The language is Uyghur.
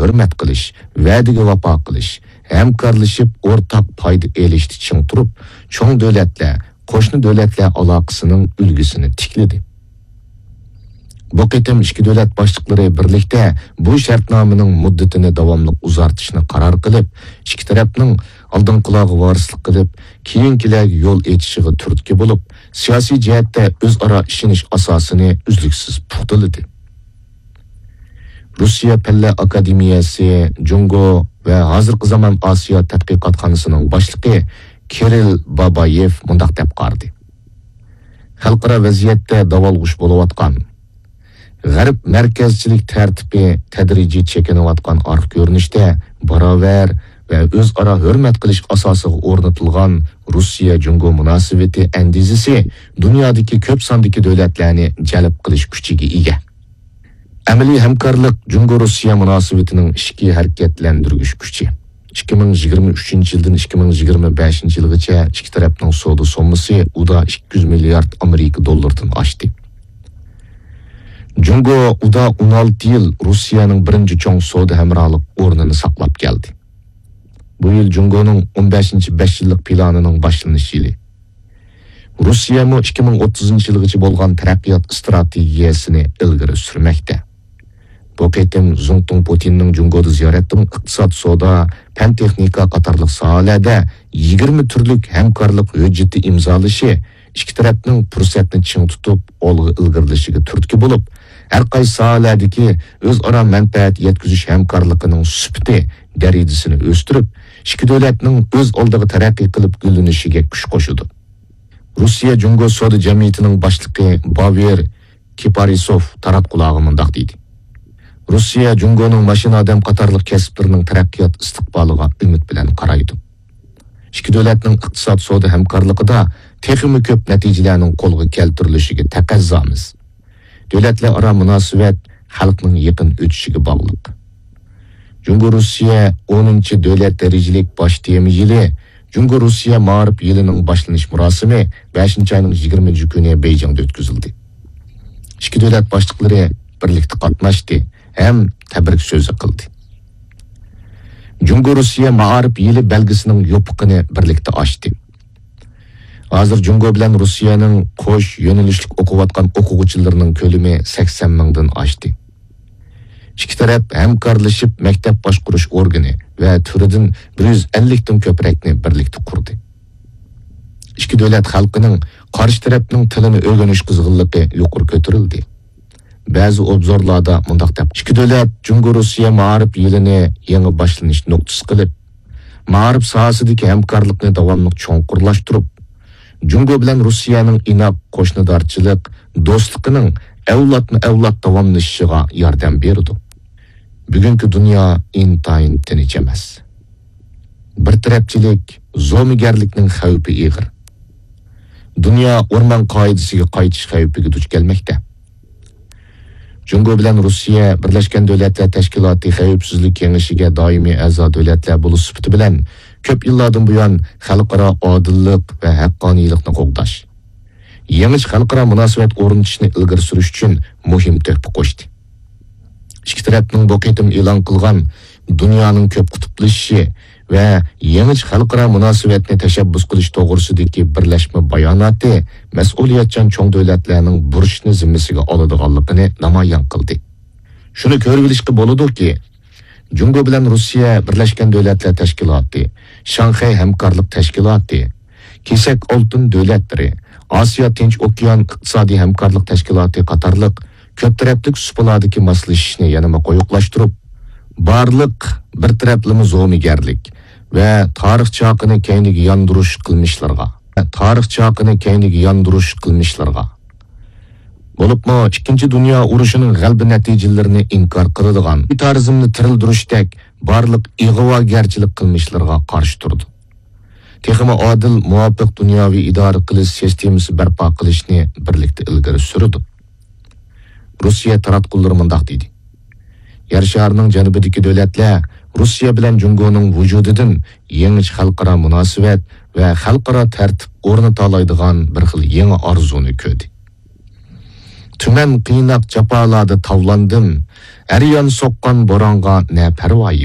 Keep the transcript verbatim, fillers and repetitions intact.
ھۆرمەت قىلىش، ۋەدىگە ۋاپا قىلىش، ھەمكارلىشىپ ئورتاق پايدا ئېلىشتا چىڭ تۇرۇپ، چوڭ دۆلەتلەر، قوشنا دۆلەتلەر ئالاقىسىنىڭ ئۈلگىسىنى تىكلىدى. بۇ قېتىم ئىككى دۆلەت باشلىقلىرى بىرلىكتە بۇ شەرتنامىنىڭ مۇددىتىنى داۋاملىق ئۇزارتىشنى قارار قىلىپ، ئىككى تەرەپنىڭ ئالدىنقىلارغا ۋارىسلىق قىلىپ، كېيىنكىلەرگە يول ئېچىشىغا تۈرتكە بولۇپ، سىياسىي جەھەتتە ئۆزئارا ئىشىنىش ئاساسىنى ئۈزلۈكسىز پۇختىلىدى. روسىيە پەنلەر ئاكادېمىيەسى جۇڭگو ۋە ھازىرقى زامان ئاسىيا تەتقىقاتخانىسىنىڭ باشلىقى كىرىل بابايېف مۇنداق دەپ قارىدى: خەلقئارا ۋەزىيەتتە داۋالغۇش بولۇۋاتقان، غەرب مەركەزچىلىك تەرتىپى تەدرىجىي چېكىنىۋاتقان ئارقا كۆرۈنۈشتە باراۋەر ۋە ئۆزئارا ھۆرمەت قىلىش ئاساسىغا ئورنىتىلغان روسىيە جۇڭگو مۇناسىۋىتى ئەندىزىسى دۇنيادىكى كۆپ ساندىكى دۆلەتلەرنى جەلپ قىلىش كۈچىگە ئىگە. ئەمەلىي ھەمكارلىق جۇڭگو روسىيە مۇناسىۋىتىنىڭ ئىچكى ھەرىكەتلەندۈرگۈچ كۈچى. ئىككى مىڭ يىگىرمە ئۈچىنچى يىلدىن ئىككى مىڭ يىگىرمە بەشىنچى يىلغىچە ئىككى تەرەپنىڭ سودا سوممىسى ئۇدا ئىككى يۈز مىليارد ئامېرىكا دوللىرىدىن ئاشتى. جۇڭگو ئۇدا ئون ئالتە يىل روسىيەنىڭ بىرىنچى چوڭ سودا ھەمراھلىق ئورنىنى ساقلاپ كەلدى. بۇ يىل جۇڭگونىڭ ئون بەشىنچى بەش يىللىق پىلانىنىڭ باشلىنىش يىلى. روسىيەمۇ ئىككى مىڭ ئوتتۇزىنچى يىلغىچە بولغان تەرەققىيات ئىستراتېگىيەسىنى ئىلگىرى سۈرمەكتە. بۇ قېتىم زۇڭتۇڭ پۇتىننىڭ جۇڭگودا زىيارەتتىمۇ ئىقتىساد، سودا، پەن-تېخنىكا قاتارلىق ساھەلەردە يىگىرمە تۈرلۈك ھەمكارلىق ھۆججىتى ئىمزالىشى ئىككى تەرەپنىڭ پۇرسەتنى چىڭ تۇتۇپ ئالغا ئىلگىرىلىشىگە تۈرتكە بولۇپ، ھەر قايسى ساھەلەردىكى ئۆزئارا مەنپەئەت يەتكۈزۈش ھەمكارلىقىنىڭ سۈپىتى، دەرىجىسىنى ئۆستۈرۈپ، ئىككى دۆلەتنىڭ ئۆز ئالدىغا تەرەققىي قىلىپ گۈللىنىشىگە كۈچ قوشىدۇ. روسىيە جۇڭگو سودا جەمئىيىتىنىڭ باشلىقى باۋېر كىپارىسوف تاراتقۇلارغا مۇنداق دېدى: روسىيە جۇڭگونىڭ ماشىنا ئادەم قاتارلىق كەسىپلىرىنىڭ تەرەققىيات ئىستىقبالىغا ئۈمىد بىلەن قارايدۇ. ئىككى دۆلەتنىڭ ئىقتىساد سودا ھەمكارلىقىدا تېخىمۇ كۆپ نەتىجىلەرنىڭ قولغا كەلتۈرۈلۈشىگە تەقەززامىز. دۆلەتلەر ئارا مۇناسىۋەت خەلقنىڭ يېقىن ئۆتۈشىگە باغلىق. جۇڭگو روسىيە ئونىنچى دۆلەت دەرىجىلىك باش تېما يىلى جۇڭگو روسىيە مائارىپ يىلىنىڭ باشلىنىش مۇراسىمى بەشىنچى ئاينىڭ يىگىرمىنچى كۈنى بېيجىڭدا ئۆتكۈزۈلدى. ئىككى دۆلەت باشلىقلىرى بىرلىكتە قاتناشتى ھەم تەبرىك سۆزى قىلدى. جۇڭگو روسىيە مائارىپ يىلى بەلگىسىنىڭ يوپۇقىنى بىرلىكتە ئاچتى. ھازىر جۇڭگو بىلەن روسىيەنىڭ قوش يۆنىلىشلىك ئوقۇۋاتقان ئوقۇغۇچىلىرىنىڭ كۆلىمى سەكسەن مىڭدىن ئاشتى. ئىككى تەرەپ ھەمكارلىشىپ مەكتەپ باشقۇرۇش ئورگىنى ۋە تۈرىدىن بىر يۈز ئەللىكتىن كۆپرەكنى بىرلىكتە قۇردى. ئىككى دۆلەت خەلقىنىڭ قارشى تەرەپنىڭ تىلىنى ئۆگىنىش قىزغىنلىقى يۇقىرى كۆتۈرۈلدى. بەزى ئوبزورلاردا مۇنداق دەپ، ئىككى دۆلەت جۇڭگو روسىيە مائارىپ يىلىنى يېڭى باشلىنىش نۇقتىسى قىلىپ، مائارىپ ساھەسىدىكى ھەمكارلىقنى داۋاملىق چوڭقۇرلاشتۇرۇپ، جۇڭگو بىلەن روسىيەنىڭ ئىناق قوشنىدارچىلىق، دوستلۇقىنىڭ ئەۋلادمۇ ئەۋلاد داۋاملىشىشىغا ياردەم بېرىدۇ. بۈگۈنكى دۇنيا ئىنتايىن تىنچ ئەمەس. بىر تەرەپچىلىك زومىگەرلىكنىڭ خەۋپى ئېغىر. دۇنيا ئورمان قائىدىسىگە قايتىش خەۋپىگە دۇچ كەلمەكتە. جۇڭگو بىلەن روسىيە بىرلەشكەن دۆلەتلەر تەشكىلاتى خەۋپسىزلىك كېڭىشىگە دائىمىي ئەزا دۆلەتلەر بولۇش سۈپىتى بىلەن، كۆپ يىللاردىن بۇيان خەلقئارا ئادىللىق ۋە ھەققانىيلىقنى قوغداش، يېڭىچە خەلقئارا مۇناسىۋەت ئورنىتىشنى ئىلگىرى سۈرۈش ئۈچۈن مۇھىم تۆھپە قوشتى. ئىككى تەرەپنىڭ بۇ قېتىم ئېلان قىلغان دۇنيانىڭ كۆپ قۇتۇپلىشىشى ۋە يېڭىچە خەلقئارا مۇناسىۋەتنى تەشەببۇس قىلىش توغرىسىدىكى بىرلەشمە باياناتى مەسئۇلىيەتچان چوڭ دۆلەتلەرنىڭ بۇرچنى زىممىسىگە ئالىدىغانلىقىنى نامايان قىلدى. شۇنى كۆرۈۋېلىشقا بولىدۇكى، جۇڭگو بىلەن روسىيە بىرلەشكەن دۆلەتلەر تەشكىلاتى، شاڭخەي ھەمكارلىق تەشكىلاتى، كېسەك ئالتۇن دۆلەتلىرى، ئاسىيا تىنچ ئوكيان ئىقتىسادىي ھەمكارلىق تەشكىلاتى قاتارلىق كۆپ تەرەپلىك سۇپىلاردىكى ماسلىشىشنى يەنىمۇ قويۇقلاشتۇرۇپ، بارلىق بىر تەرەپلىمە زومىگەرلىك ۋە تارىخ چاقىنى كەينىگە ياندۇرۇش قىلمىشلىرىغا، تارىخ چاقىنى كەينىگە ياندۇرۇش قىلمىشلىرىغا، بولۇپمۇ ئىككىنچى دۇنيا ئۇرۇشىنىڭ غەلىبە نەتىجىلىرىنى ئىنكار قىلىدىغان، مىلىتارىزمنى تىرىلدۈرۈشتەك بارلىق ئىغۋاگەرچىلىك قىلمىشلىرىغا قارشى تۇرىدۇ. تېخىمۇ ئادىل، مۇۋاپىق دۇنياۋى ئىدارە قىلىش سىستېمىسى بەرپا قىلىشنى بىرلىكتە ئىلگىرى سۈرىدۇ. روسىيە تاراتقۇلىرى مۇنداق دېدى: يەر شارىنىڭ جەنۇبىدىكى دۆلەتلەر روسىيە بىلەن جۇڭگونىڭ ۋۇجۇدىدىن يېڭىچە خەلقئارا مۇناسىۋەت ۋە خەلقئارا تەرتىپ ئورنىتالايدىغان بىر خىل يېڭى ئارزۇنى كۆردى. تۈمەن قىيناق جاپالاردا تاۋلاندىم، ھەر يان سوققان بورانغا نە پەرۋايى.